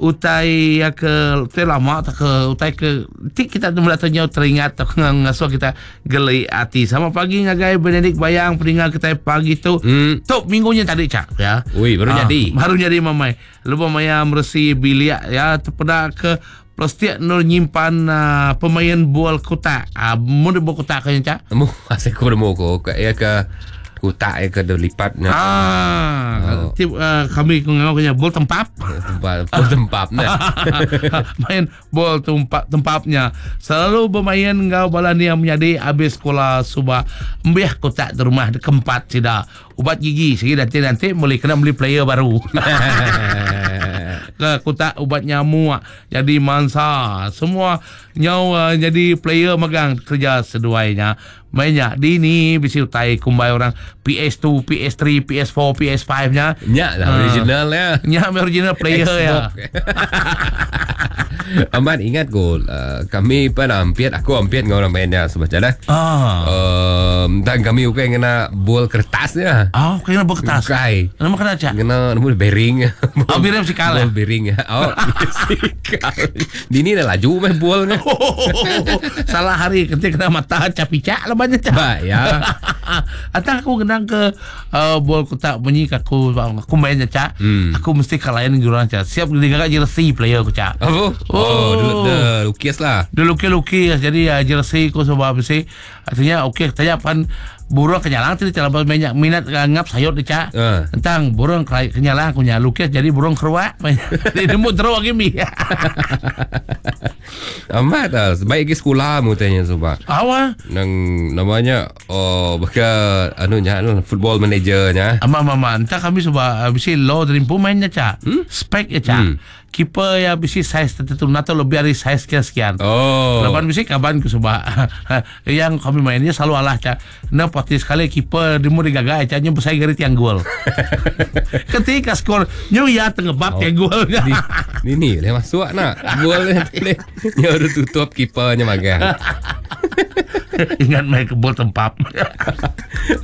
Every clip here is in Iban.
utai ya ke utai lama tak ke utai ke ti kita mula tanya teringat tak ngasuh kita geli ati. Sama pagi ngagai Benedict Bayang peninga kita pagi tu. Tu minggunya tadi cak ya. Ui, baru Ah, jadi. Baru jadi mamai. Lebuh maya meresi bilik ya terpeda ke plastik nur nyimpan uh, pemain bol kotak. Ah uh, mun bol kotak kan cak. Nemu asal aku nemu ko ke ya ke kotak ya ke lipat nya. Ah, oh. tip, uh, kami ngau kenya bol tempap. Tempat bol tempap nah. Main bol tempat tempapnya. Selalu bermain ngau bala ni yang menjadi habis sekolah suba embih kotak di rumah di keempat sida. Ubat gigi sigi nanti nanti boleh kena beli player baru. Ke kotak ubat nyamuk jadi mangsa. Semua nyau uh, jadi player megang kerja seduainya. Mainnya di ni bisi utai kumbai orang PS2, PS3, PS4, PS5 nya. Nya lah original ya. Nya original player ya. Amat ingat ko uh, kami pernah hampir aku hampir ngau orang mainnya sebab dah. Ah. Um, dan kami bukan kena bol kertasnya. Oh, kena bol kertas. Bukan. Nama kena cak. Kena nemu bearing. Oh, bearing sikal. Bol bearing. Oh, sikal. Dini dah laju meh bolnya. Salah hari ketika kena mata capicak lah banyak cak. Ba ya. Atau aku kena ke uh, bol kotak bunyi ke aku aku mainnya cak. Aku mesti kalahin jurang cak. Siap digagak jersey player aku cak. Apa? Oh, dulu dah lukis lah. Dia lukis-lukis jadi uh, jersey ku sebab besi artinya okey tanya pan burung kenyalang tu cara banyak minat uh, ngap sayur dia cak. Tentang burung kenyalang aku nya lukis jadi burung keruak. Dia nemu teruk lagi mi. Amat lah. Baik ke sekolah mu tanya sebab. Awa. Nang namanya oh baka anu nya anu football manager nya. Ama mama entah kami sebab bisi low dari pemainnya cak. Spek ya cak. Keeper ya bisi size tertentu atau lebih dari size sekian sekian. Oh. Laban bisi kaban ku sebab yang kami mainnya selalu alah cak. Nah pasti sekali keeper di mu digagai cak nyu besar gari tiang gol. Ketika skor nyu ya tengebap tiang gol. Di, ni le masuk nak. Gol ni. Nyu harus tutup keepernya magang. Ingat main ke bol tempap.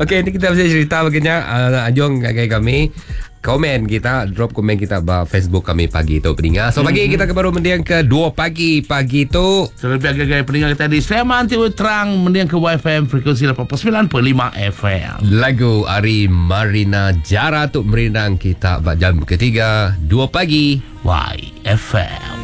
Okey, ni kita bisa cerita baginya uh, Anjong gagai kami. Komen kita, drop komen kita ba Facebook kami pagi tu peninga. So pagi kita ke baru mendiang ke 2 pagi pagi tu. Terlebih agak-agak peninga kita di Sleman Timur Terang mendiang ke YFM frekuensi 89.5 FM. Lagu Ari Marina Jara tu merindang kita ba jam ketiga 2 pagi YFM.